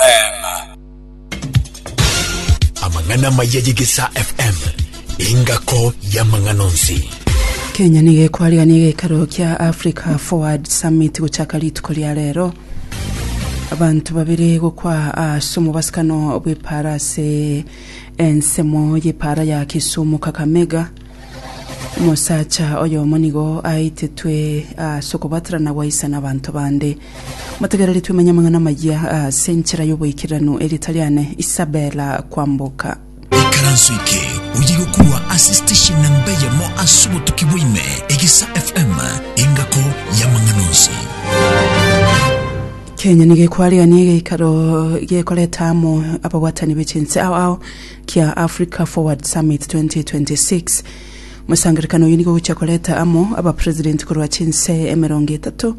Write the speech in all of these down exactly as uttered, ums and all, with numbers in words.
F M. Amang'ana amaya y'Egesa F M, engako y'amang'ana onsi. Kenya nigo ekwarigania egeikaro kia Africa Forward Summit gochaka rituko ria rero. Abanto babere gokwa ase omobasikano bw'epara ase ensemo y'epara ya Kisumu Kakamega. Omosacha oyomo nigo aitetwe ase okobaterana gwaisana abanto bande. Motegereri twemanye amang'ana amayia ase enchera y'oboikeranu erita riane Isabella Kwamboka. Ikaranso eke oye gokurwa ase station namba eyemo ase obotuki bwaime, Egesa F M, engako y'amang'ana onsi. Kenya nigo ekwarigania egeikaro gekoreta amo ababwatani b'echinse ao ao kia Africa Forward Summit twenty twenty-six. Omosangerekano oyo nigo ogochia koreta amo abapresident korwa chinse emerongo etato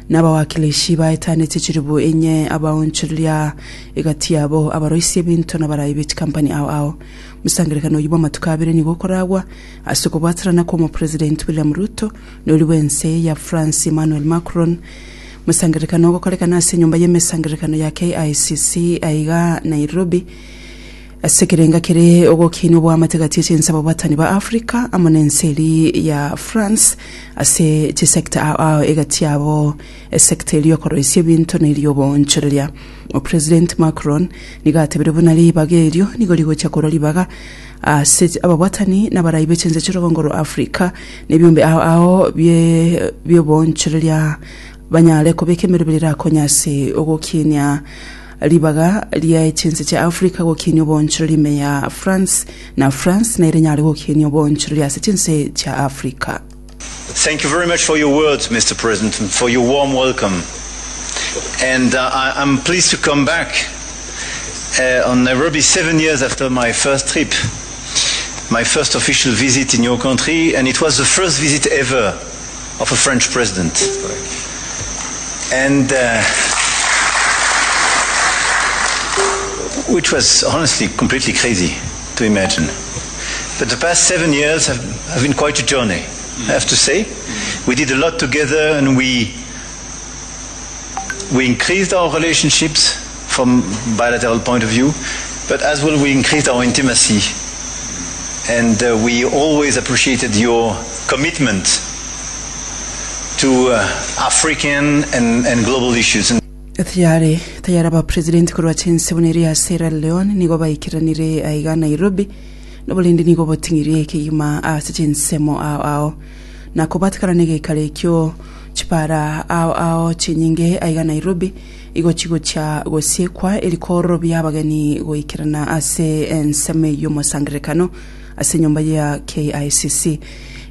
na abawakilishi baetanete chiribu enye abaonchoreria egati yabo abaroisia ebinto na barayi b'echikampani ao ao. Omosangerekano oyo bw'amatuko abere nigo okoragwa ase okobwaterana kwa omopresident William Ruto na ori bwense ya France Emmanuel Macron. Musangerekano ogokorekana ase enyomba y'emesangerekano ya K I C C aiga Nairobi ase ekerenga kere ogokina obwamate gati y'echinse ababwatani ba Africa amo na ense eri ya France ase chisector ao ao egati yabo esector eri yokoroisia ebinto na eri yoboonchoreria. Opresident Macron nigo atebire buna ribaga erio nigo rigochia korwa ribaga ase ababwatani n'abarai b'echinse chirogongo rwa Africa n'ebiombe ao ao bie bioboonchoreria banyare kobeka emeroberi erakonya ase ogokinia ribaga ria echinse chia Africa gokinia oboonchoreri ime ya France na France nere nyare gokinia oboonchoreri ase chinse chia Africa. Thank you very much for your words, Mister President, and for your warm welcome. And uh, I, I'm pleased to come back uh, on Nairobi seven years after my first trip, my first official visit in your country, and it was the first visit ever of a French president. And uh, which was honestly completely crazy to imagine. But the past seven years have, have been quite a journey, I have to say. We did a lot together and we, we increased our relationships from bilateral point of view, but as well we increased our intimacy. And uh, we always appreciated your commitment to uh, African and, and global issues. And Tayari tayari abapresident korwa chinse buna eri ya Sierra Leone nigo baikiranire aiga Nairobi noborindi nigo boting'irie kegima ase chinsemo ao ao na kobatikana na egeikaro ekio chipara ao ao chinyinge aiga Nairobi igo chigochia gosiekwa erikororo bia abageni goikerana ase ensemo y'omosangerekano ase enyomba ya K I C C.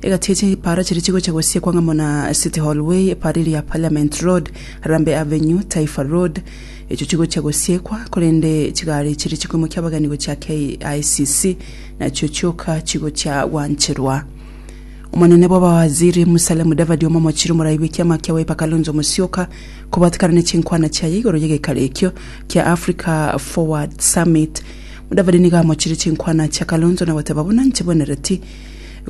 Egati chipara chiri chigochia gosiekwa ng'amo na City Hall Way, epara eri ya Parliament Road, Harambee Avenue, Taifa Road echo chigochia gosiekwa korende chigari chiri chikoimokia abageni gochia K I C C nachio chioka chigochia gwancherwa. Omonene bw'abawaziri Musalia Mudavadi omomochire omorai bw'ekiama kia Wiper Kalonzo Musyoka kobatikana ne chinkwana chiaye igoro y'egeikaro ekio kia Africa Forward Summit. Mudavadi nigo amochire chinkwana chia Kalonzo na goteba buna nchibwenereti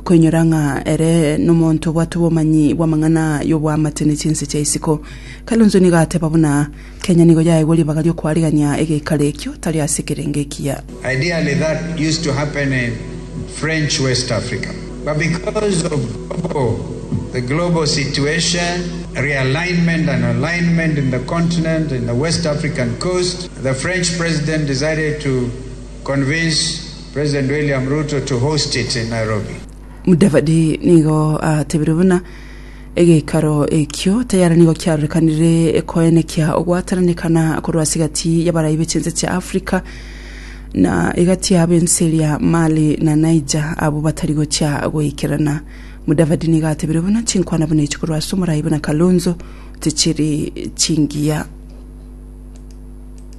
koinyora ng'a ere nomonto obwate obomanyi bw'amang'ana y'obwamate ne chinse chia isiko. Kalonzo nigo ateba buna Kenya nigo yaegwa ribaga riokwarigania egeikaro ekio tari ase ekerenge ekiya. Ideally, that used to happen in French West Africa. But because of global, the global situation, realignment and alignment in the continent, in the West African coast, the French president decided to convince President William Ruto to host it in Nairobi. Mudavadi nigo atebire buna egeikaro ekio tayari nigo kiarorekanire ekoenekia ogwataranekana korwa ase egati y'abarai b'echinse chia Africa na egati yabo ense eria Mali na Niger abo batari gochia goikerana. Mudavadi nigo atebire buna chinkwana buna echi korwa ase omorai buna Kalonzo tichiri chingiya.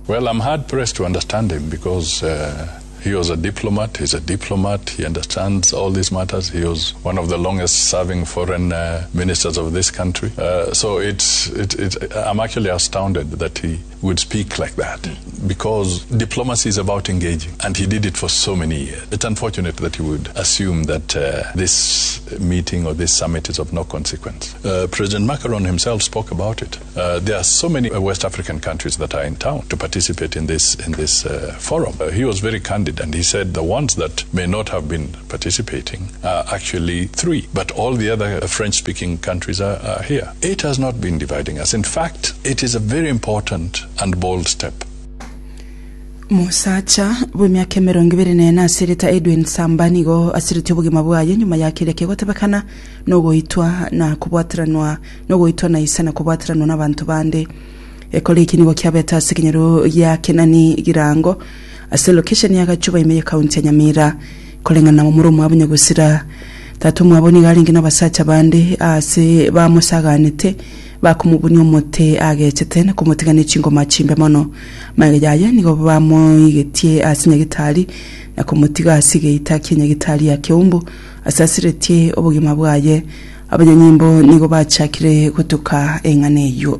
Well, I'm hard pressed to understand him because uh, He was a diplomat. He's a diplomat. He understands all these matters. He was one of the longest serving foreign uh, ministers of this country. Uh, so it's, it, it, I'm actually astounded that he would speak like that, because diplomacy is about engaging, and he did it for so many years. It's unfortunate that he would assume that uh, this meeting or this summit is of no consequence. Uh, President Macron himself spoke about it. Uh, there are so many West African countries that are in town to participate in this, in this uh, forum. Uh, he was very candid, and he said the ones that may not have been participating are actually three, but all the other French-speaking countries are, are here. It has not been dividing us. In fact, it is a very important and bold step. Musacha bw'emiaka emerongo ibere nene asireta Edwin Samba nigo asiretie obogima bwaye nyuma ya keria kegotebekana nogoitwa na kobwatiranwa nogoitwa na isa na kobwatiranwa n'abantu bande. Ekore iki nigo kiabeta ase ekenyero gia Kenani Girango ase location ya Gachuba ime ya county ya Nyamira. Koreng'ana na momura omwabo nyagosira tata omwabo nigo arenge n'abasacha bande ase bamosaganete bakomubunia omote agechete na komotigana echingoma chimbe mono. Maega yaye nigo bamoigetie ase nyagitari na komotiga ase geita kia nyagitari ya Keumbu ase asiretie obogima bwaye. Abanyanyimbo nigo bachakire gotuka eng'ana eywo.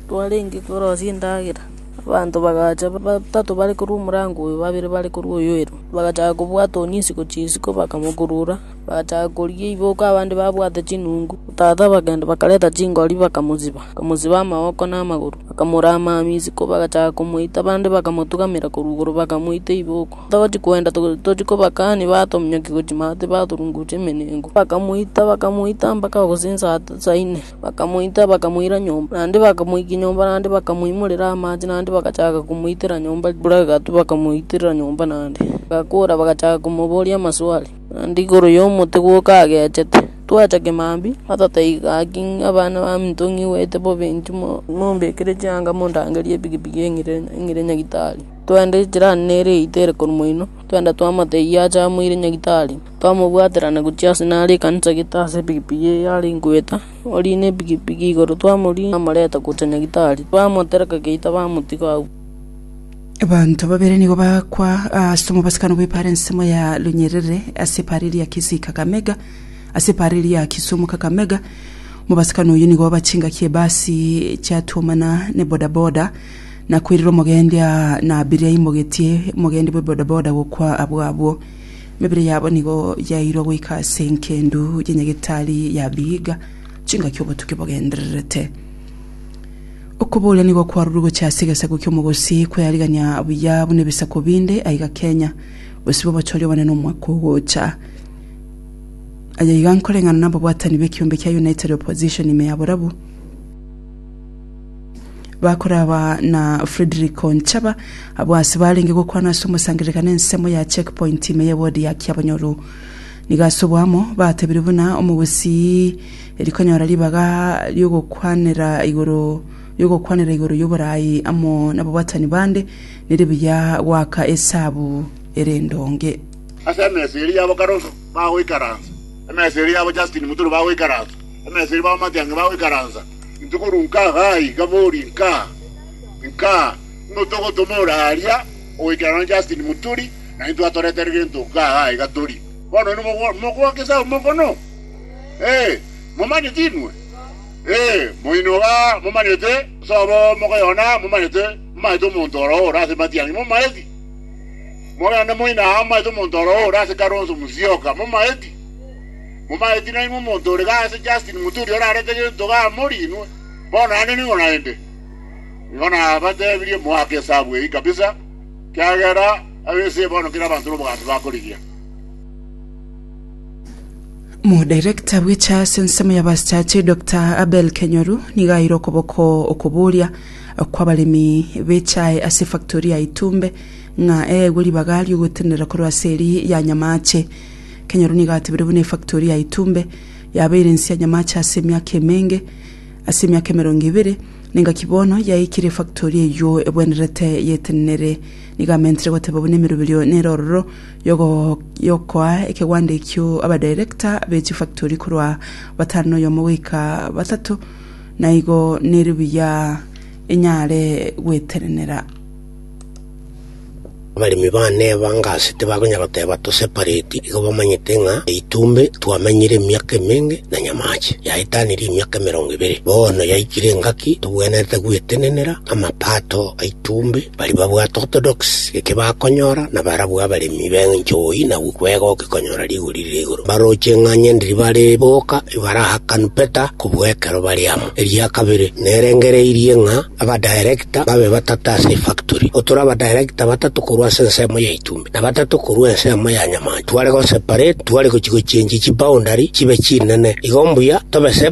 Twarenge korosia endagera abanto bagacha batatu bare korwa omorango oyo, babere bare korwa oyo ero, bagachaka kobwata onyisi gochia isiko bakamokurura, bagachaka koria iboko abande babwate chinungu. Tata bagenda bakareta chingori bakamoziba, bakamoziba amaboko na amagoro, bakamorama isiko bagachaka komoita, abande bakamotugamera korwa igoro bakamoita iboko. Togochi kwenda tochi kobakani batominyokia gochia maate batorungucha emenengo, bakamoita bakamoita mpaka gose saa saa nne, bakamoita bakamoira nyomba, naende bakamoikia nyomba, naende bakamoimorera amache, naende bagachaka komoitera nyomba buragatu bakamoitera nyomba naende. Bagakora bagachaka komoboria amaswali naende igoro ya omote gwoka agechete. Twacha kimambi batataiga gaki abana baminto ng'iwete bobe inchu mombekere chianga mondangerie epikipiki eng'ire eng'ire nyagitari. Twende jirani nere eitere korwa moino, twenda twamotebia ache amoire nyagitari, twamobwaterana gochia ase nare ekanisa gete ase epikipiki eye are nkoeta, orine epikipiki igoro twamoria amoreta gocha nyagitari, twamotereka geita bamotiga abwo. Abanto babere nigo bakwa ase omobasikano bw'epara ensemo ya Lunyerere ase epara eria ya Kisii Kakamega ase epara eria ya Kisumu Kakamega. Omobasikano oyo nigo bachingakia ebasi chiatuomana ne bodaboda na kwirira omogendi na abiria imogetie omogendi bwa bodaboda gokwa abwo abwo. Mebere yabo nigo yairwa goika ase enkendu ya nyagetari ya Vihiga chingaki obotuki bogendererete. Okoboria nigo kwarurwe gochia ase egesaku kia omogosi kweyarigania buya buna ebisaku binde aiga Kenya bosibo bochoria obonene omwaka ogocha. Aya iga nkoreng'ana na ababwatani b'ekiombe kia United Opposition ime ya Borabu bakoraba na Frederick Onchaba abo ase barenge gokwana ase omosangererekano ensemo ya checkpoint ime ya ward ya Kiabonyoru. Nigo ase obwamo batebire buna omogosi erikonyora ribaga riogokwanera igoro yogokwanera igoro y'oborai amo n'ababwatani bande nere buya gwaka esabu ere endonge. Ase emesa eria yabo Kalonzo bagoikaransa, emesa eria yabo Justin Muturi bagoikaransa, emesa eria babo Matiang'i bagoikaransa, intwe korwa nka iga iga bori nka nka ng'o togotoma oraria ogoikerana na Justin Muturi na intwe atoretere gento nka iga iga tori. Bono inwe mogwaka esabu mokono, eh, momanyete inwe, eh, moino iga momanyete sobo mokoyona momanyete momanyete omonto oro ore ase Matiang'i momaeti. Mogende moino aa momaete omonto oro ore ase Kalonzo Musyoka momaeti. Momaeti nainwe omonto ore iga ase Justin Muturi orarete gento iga mori inwe. Bono naende nigo naende. Nigo nabatebirie moake esabu eyio kabisa, kiagera abese bono kera abanto n'obogambi bakorigia. Modirector bw'echa ase ensemo ya basachache Doctor Abel Kenyoru nigo aire okoboko okoboria kw'abaremi b'echae ase factory ya Itumbe ng'a eegwe ribaga riogotenera korwa ase eri ya Nyamache. Kenyoru nigo atebire buna efactory ya Itumbe yabeire ense ya Nyamache ase emiaka emenge ase emiaka emerongo ibere nengaki bono yaikire efactory eywo ebwenerete yetenenere. Nigo amentire goteba buna emeroberio nere ororo yogo yokoa ekegwanda ekio abadirector b'echifactory korwa batano oyomo goika batatu naigo nere buya enyare gwetenenera. Abaremi bane bangasete bakonya goteba toseparate igo bamanyete ng'a Itumbe twamenyire emiaka emenge na Nyamache yaetanire emiaka emerongo ebere bono yaikire engaki tobwenerete gwetenenera amapato a Itumbe bari babwate orthodox eke bakonyora na barabwo abaremi benchoi na gwegoki konyora rigori rire igoro baroche ng'a ndiri bare boka ibarahakanu peta kobwekero bari amo. Eria kabere nerengereirie ng'a abadirector babe batata ase efactory otora abadirector batatu korwa ase ensemo ya Itumbe na batatu korwa ensemo ya Nyamache tware go separate tware gochi gochenji chiboundary chibe chinene igo mbuya tobe.